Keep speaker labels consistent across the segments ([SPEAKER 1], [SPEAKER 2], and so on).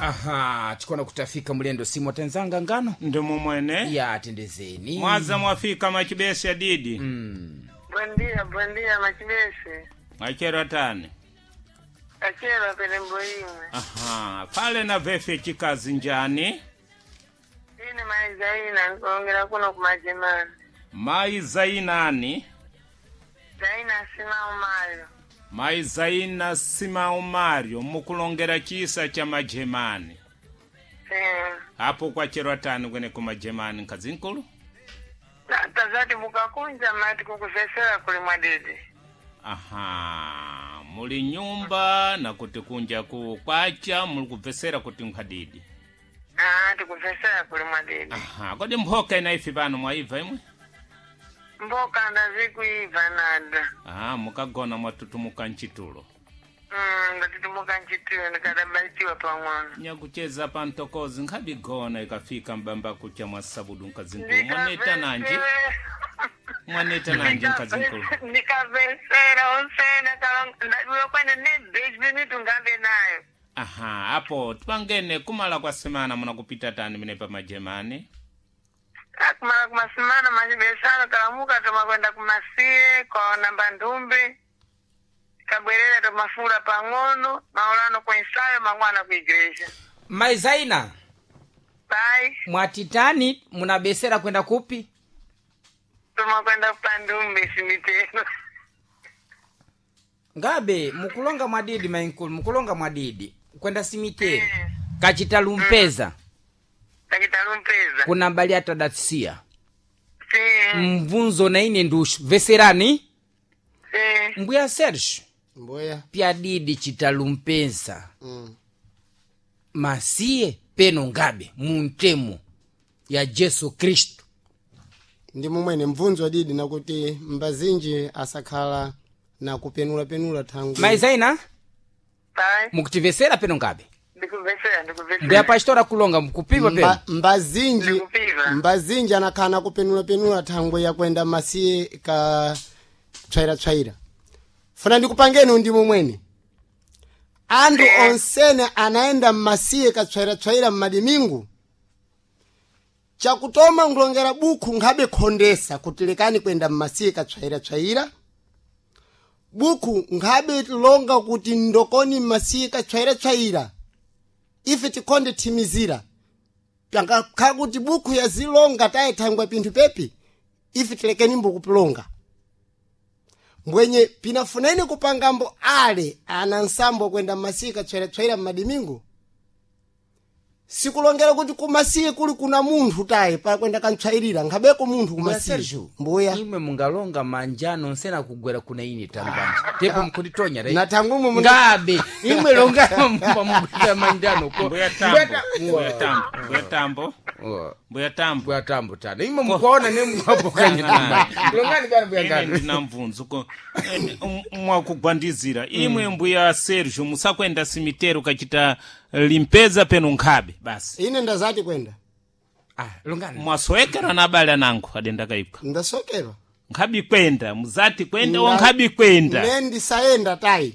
[SPEAKER 1] Aha, chikona kutafika mulendo simu atenzanga ngano
[SPEAKER 2] Ndimo mwene
[SPEAKER 1] ya tendezeni
[SPEAKER 2] mwaza mwafika machibesi adidi
[SPEAKER 3] Buen dia, buen dia, machibesi.
[SPEAKER 2] mwachero tani
[SPEAKER 3] Achero pelembo imwe.
[SPEAKER 2] Aha, pale na vefe chikazi njani
[SPEAKER 3] Ine mai Zaina nkulongera kuno kumajemani.
[SPEAKER 2] Mai Zainani
[SPEAKER 3] Zaina simao mayo.
[SPEAKER 2] Mai Zaina Simao Mario mukulongera chisa cha majemani
[SPEAKER 3] Eh.
[SPEAKER 2] apo kwachero tani kwene kumajemani nkazinkulu
[SPEAKER 3] Tazati mukakunja mati kukuvesera kuli mwadidi.
[SPEAKER 2] Aha, muli nyumba na kuti kunja ku kwacha muli kubvesera kuti nkhadidi.
[SPEAKER 3] Ah, tikuvesera kuli mwadidi.
[SPEAKER 2] Aha, kodi mphoka ina ifi pano mwaibva imwe?
[SPEAKER 3] Mboka ndazikuiva nada.
[SPEAKER 2] Aha, mukagona mwatutumuka mchitulo.
[SPEAKER 3] Ndatutumuka nchitulo ndikadabaitiwa pang'ono.
[SPEAKER 2] Nyakucheza pa mtokozi nkhabigona ikafika mbamba kucha mwa sabudu nkazinkulu. Mwaneta nanji? Mwaneta nanji nkazinkulu.
[SPEAKER 3] Ndikavesera onsena ndaduya kwene ne beji minutu ngambe nayo.
[SPEAKER 2] Aha, apo tipangene kumala kwa semana munakupita tani mene pa majemani.
[SPEAKER 3] Akumala kumasimana machibesano kalamuka tomakwenda kumasiye kwa namba ndumbi kabwerera tomafula pang'ono maulano kwensayo mang'wana ku igreja
[SPEAKER 1] Mai Zaina
[SPEAKER 3] pai
[SPEAKER 1] mwatitani munabesera kwenda kupi?
[SPEAKER 3] tomakwenda kupandumbi simiteno
[SPEAKER 1] Ngabe mukulonga mwadidi mainkulu mukulonga mwadidi kwenda simiteri kachita lumpeza
[SPEAKER 3] takitalumpeza
[SPEAKER 1] kuna mbali atadatsiya
[SPEAKER 3] si
[SPEAKER 1] mvunzo na ine ndushu veserani
[SPEAKER 3] si
[SPEAKER 1] mbuya Sergio
[SPEAKER 4] Mboya.
[SPEAKER 1] pyadidi chitalumpeza masiye peno ngabe muntemo ya Jesu Kristu
[SPEAKER 4] Ndi mumwene mvunzo adidi nakuti mbazinji asakhala na kupenulapenula thangwi.
[SPEAKER 1] Mai Zaina
[SPEAKER 3] pai
[SPEAKER 1] mukutivesera peno ngabe
[SPEAKER 3] ndikuvesera ndikuvesera
[SPEAKER 1] mbuya pastora kulonga mukupiva peno
[SPEAKER 4] Mbazinji
[SPEAKER 3] Ndikupiva.
[SPEAKER 4] mbazinji anakhala na kupenulapenula thangwi yakwenda masiye ka tswairatswaira. Funa ndikupangeni ndi mumwene. Anthu onsene anayenda mmasiye katswairatswaira mmadimingu. Chakutoma nkulongera bukhu nkhabe khondesa kuti lekani kwenda mmasiye katswairatswaira. Bukhu nkhabe longa kuti ndokoni mmasiye katswairatswaira. Ife tikhonde thimizira. Pangakhala kuti bukhu yazilonga taye thangwe pinthu pepi ife tilekeni mbukupilonga. Mbwenye pinafuneni kupangambo ale ana nsambo kwenda mmasiye katswairatswaira mmadimingu. Sikulongera kuti kumasiye kuli kuna munthu taye pakwenda kantswairira nkhabeko munthu
[SPEAKER 1] Mbuya
[SPEAKER 4] kumasiye.
[SPEAKER 1] Sergio
[SPEAKER 4] Mbuya.
[SPEAKER 1] imwe mungalonga manjano nsena kugwera kuna ine tambanje tepo mukunditonya right?
[SPEAKER 4] Na thangwi mwe
[SPEAKER 1] ngabe imwe longa pamugwera manjano ko
[SPEAKER 2] Mbuya Tambo, Mbuya Tambo, Mbuya Tambo, Mbuya Tambo.
[SPEAKER 1] mbuya tambo tano imwe mukuona ne mwapokanya tambanje longani bwana mbuya
[SPEAKER 2] Ine
[SPEAKER 1] ngano
[SPEAKER 2] ndina mvunzo ko mwakugwandizira imwe mbuya Sergio musakwenda simitero kachita limpeza peno nkhabe basi
[SPEAKER 4] ine ndazati kwenda
[SPEAKER 1] ah longani
[SPEAKER 2] mwasowekera na abale anango adenda kaipha
[SPEAKER 4] ndasokerwa.
[SPEAKER 2] nkhabi kwenda muzati kwenda wa nkhabi kwenda
[SPEAKER 4] Ne ndisayenda tayi.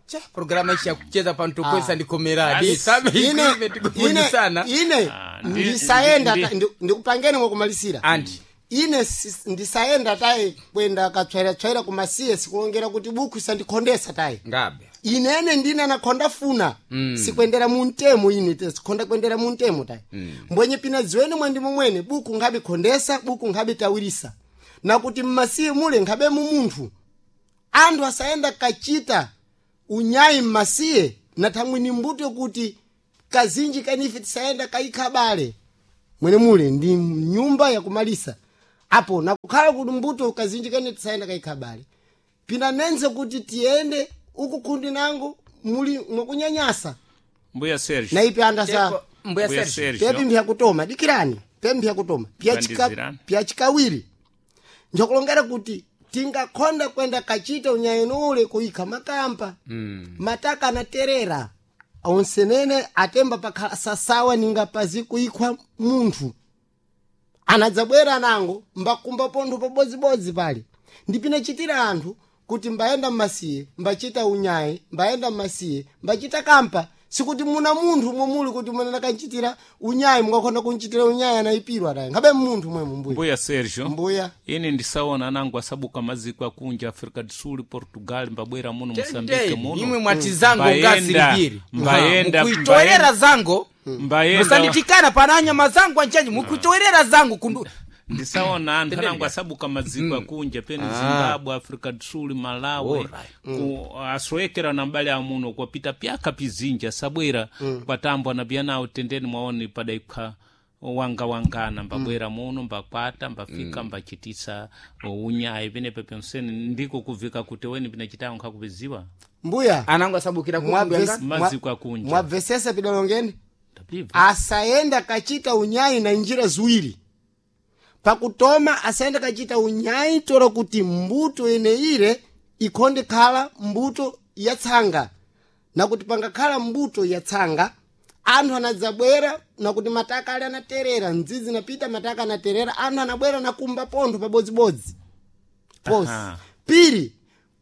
[SPEAKER 1] cha programa ichi yakucheza pantokwesa ndikomeradi sabe
[SPEAKER 4] Ine
[SPEAKER 1] ine
[SPEAKER 4] ine
[SPEAKER 1] tikufundisana
[SPEAKER 4] ine
[SPEAKER 2] Ah, ndi-
[SPEAKER 4] ndisayenda
[SPEAKER 2] ndi-
[SPEAKER 4] ndikupangeni mwakumalisira.
[SPEAKER 1] anti
[SPEAKER 4] Ine ndisayenda tayi kwenda katswairatswaira kumasiye sikulongera kuti bukhu isandikhondesa tayi.
[SPEAKER 1] ngabe
[SPEAKER 4] Inene ndine anakhonda funa sikwendera muntemo ine sikhonda kwendera muntemo tayi. Mbwenye pina dziweni mwandi momwene buku nkhabe khondesa buku nkhabe tawirisa nakuti mmasiye mule nkhabe mu munthu anthu asayenda kachita unyayi mmasiye na thangwini mbuto yokuti kazinji kanife tisayenda kayikha bale mwene mule ndi nyumba yakumalisa apo nakukhala kuti mbuto kazinji kani tisayenda kayikha bale pina nenze kuti tiyende uku kundi nangu muli mwakunyanyasa
[SPEAKER 2] mbuya Sergio
[SPEAKER 4] na ipi andasa
[SPEAKER 1] Tepo, mbuya
[SPEAKER 2] mbuya
[SPEAKER 1] Sergio
[SPEAKER 4] pepi
[SPEAKER 2] Sergio
[SPEAKER 4] mphya dikirani pepi mphya kutoma
[SPEAKER 2] Bandizirani.
[SPEAKER 4] pyachikawiri njokulongera kuti tingakhonda kwenda kachita unyayeno ule kuyikha makampa mataka anaterera onsenene atemba pakhala sasawa ninga pazi kuyikhwa munthu anadzabwera nango mbakumba pontho pabodzibodzi pali ndipinachitira anthu kuti mbayenda mmasiye mbachita unyayi mbayenda mmasiye mbachita kampa. Sikuti muna munthu momuli kuti mwana kanchitira unyayi, mungakhona kunchitira unyayi anayipirwa tayi ngabe munthu mwemu mbuya.
[SPEAKER 2] Mbuya Sergio,
[SPEAKER 4] Mbuya.
[SPEAKER 2] Ine ndisaona anangu asabuka maziko akunja Africa do Sul, Portugal, mbabwera muno Mosambike muno.
[SPEAKER 1] Imwe mwati zango
[SPEAKER 2] Mbayenda,
[SPEAKER 1] ngasiripiri
[SPEAKER 2] mbayenda,
[SPEAKER 1] mukuitowerera zango.
[SPEAKER 2] Mbayenda.
[SPEAKER 1] Musanditikana pana anyama zangu anchanji mukuitowerera zango kundu.
[SPEAKER 2] Ndisaona anthu anangu asabuka maziko akunja pene Zimbabwe, Africa do Sul, Malawi.
[SPEAKER 1] Alright.
[SPEAKER 2] Asowekera na mbali amuno kwapita pyaka pizinja sabwera kwatambwa na byanawo tendeni mwaone padaikha wanga wangana mbabwera muno mbakwata mbafika mbachitisa unyayi penepa pyonsene ndiko kuvika kuti weni pinachitawo nkhakupiziwa.
[SPEAKER 4] Mbuya.
[SPEAKER 1] Anangu asabukira kumbuya.
[SPEAKER 2] Maziko akunja.
[SPEAKER 4] Mwabvesesa pidalongeni.
[SPEAKER 2] Ndapiva.
[SPEAKER 4] Asayenda kachita unyayi na njira ziwiri. Pakutoma asayenda kachita unyayi tola kuti mbuto ene ile ikhonde khala mbuto ya tsanga, nakuti pangakhala mbuto ya tsanga anthu anadzabwera nakuti mataka ali anaterera nzizi napita mataka anaterera anthu anabwera nakumba pontho pabodzibodzi posi.
[SPEAKER 2] Aha.
[SPEAKER 4] Piri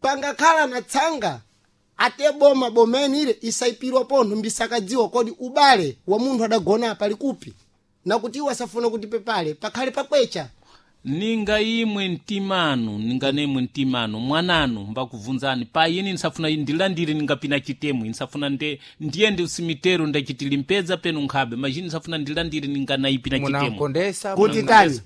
[SPEAKER 4] pangakhala na tsanga ate boma bomeni ile isaipirwa pontho mbisakadziwa kodi ubale wa munthu adagona pali kupi, nakuti iwo asafuna kuti pepale pakhale pakwecha.
[SPEAKER 2] Ninga imwe mtimanu, ninga nemwe mtimanu mwananu mbakuvunzani pa ini nsafuna ndilandire ningapina chitemu nsafuna nde ndiyende usimitero ndachitili mpedza penu nkhabe majini nsafuna ndilandire ninganaipina chitemu.
[SPEAKER 1] Munakondesa.
[SPEAKER 4] Kuti tani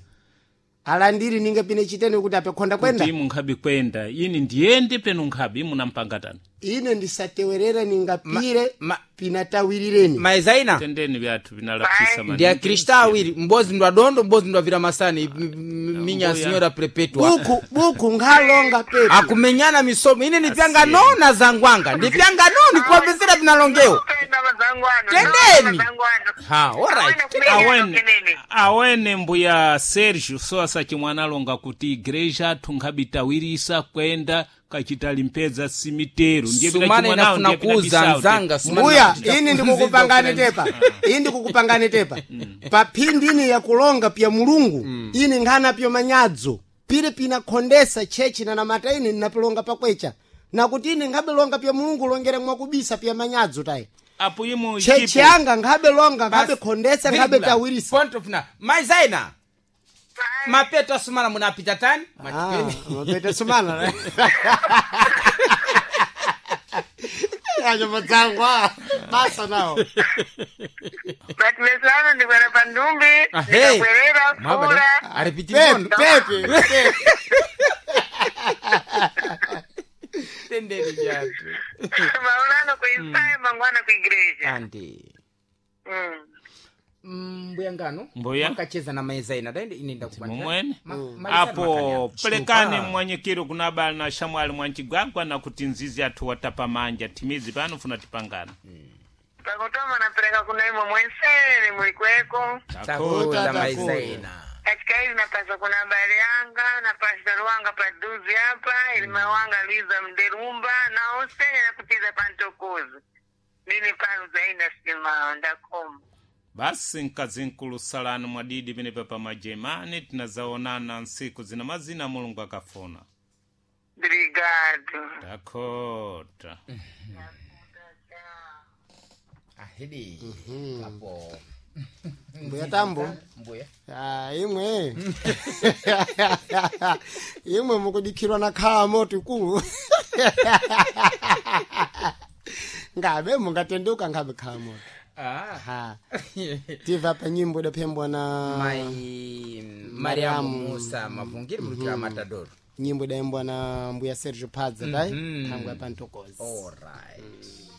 [SPEAKER 4] alandiri ningapine chitene kuti apekhonda kwenda.
[SPEAKER 2] Kuti imwe nkhabe kwenda ini ndiyende penu nkhabe imwe nampanga tani.
[SPEAKER 4] Ine ndisatewerera ningapire pinatawirireni.
[SPEAKER 1] Maizaina.
[SPEAKER 2] Tendeni vyathu vinalapisa.
[SPEAKER 1] Ndi akrista awiri, mbozi ndo adondo, mbozi ndo avira masani minya.
[SPEAKER 2] Mbuya.
[SPEAKER 1] Signora Perpetua.
[SPEAKER 4] Buku buku nkhalonga pepe.
[SPEAKER 1] Akumenyana misomo ine nipyanga nona zangwanga ndipyanga noni kuwapezera vinalongeo.
[SPEAKER 3] Penda mazangu ano.
[SPEAKER 1] Tendeni.
[SPEAKER 3] Mazangu ano.
[SPEAKER 1] Ha, alright.
[SPEAKER 2] Awene awene mbuya Sergio so asachimwana alonga kuti igreja athu nkhabitawirisa kwenda kachitali mpedza simitero ndiye pina
[SPEAKER 1] Sumana
[SPEAKER 2] chimwanawo,
[SPEAKER 1] inafuna
[SPEAKER 2] ndiye pina
[SPEAKER 1] kuuza
[SPEAKER 2] bisawo.
[SPEAKER 1] nzanga sumana
[SPEAKER 4] Mbuya,
[SPEAKER 1] inafuna
[SPEAKER 4] ini ndikukupangani tepa, ini ndikukupangani tepa pa phindi ini yakulonga pya mulungu ini nkhana pyo manyadzo pili pinakhondesa chechi na namata ine ndinapilonga pakwecha nakuti ine nkhabelonga pya mulungu longera mwakubisa pya manyadzo tayi.
[SPEAKER 2] Apo imwe
[SPEAKER 4] Chechi
[SPEAKER 2] ichipo.
[SPEAKER 4] yanga nkhabelonga nkhabekhondesa
[SPEAKER 1] Virgula,
[SPEAKER 4] nkhabetawirisa.
[SPEAKER 1] Point of na maizaina mapeto asumana munapita tani.
[SPEAKER 4] Ah, mapete sumana anyamadzangu basa nawo.
[SPEAKER 3] But mesano ndikwera pandumbi.
[SPEAKER 1] Ahe.
[SPEAKER 3] Ndikabwerera fura.
[SPEAKER 1] Aripiti.
[SPEAKER 4] Pepe pepe pepe.
[SPEAKER 1] Tendeni vyathu.
[SPEAKER 3] Maulano kuisaya mangwana kuigreja.
[SPEAKER 1] Andi mbuya ngano.
[SPEAKER 2] Mbuya.
[SPEAKER 1] Makacheza na maizaina daende ine ndakubandira.
[SPEAKER 2] Mumwene
[SPEAKER 1] Maizana
[SPEAKER 2] apo
[SPEAKER 1] makani.
[SPEAKER 2] pelekani mwanyikiro kuna abale na shamwali mwanchigwagwa na kuti nzizi athu watapa manja timizi pano funa tipangana.
[SPEAKER 3] Pakutoma napereka kuna imwe mwensere mulikweko.
[SPEAKER 1] Takuta maizaina.
[SPEAKER 3] Katika hivi napasa kuna habari yanga napasa ruwanga paduzi hapa ilima wanga Luiza Mderumba na osene na kucheza pantokozi mimi pano zaina sima ndakoma.
[SPEAKER 2] Basi mkazinkulu salani mwadidi penepa pa majemani tinazaonana nsiku zina mazina mulungu akafuna.
[SPEAKER 3] Brigado.
[SPEAKER 2] Takota.
[SPEAKER 1] Ahidi apo.
[SPEAKER 4] Mbuya tambo.
[SPEAKER 1] Mbuya.
[SPEAKER 4] Ah, imwe imwe mukudikhirwa na khala moto ikulu ngabe mungatenduka ngabe khala moto.
[SPEAKER 1] Ah.
[SPEAKER 4] Ha, tiva pa nyimbo idaphembwa na
[SPEAKER 1] Mai Mariamu Musa Mavungiri mulukira Matadoro.
[SPEAKER 4] Nyimbo idaimbwa na mbuya Sergio Padza tai thangwe ya pantokozi.
[SPEAKER 1] Alright.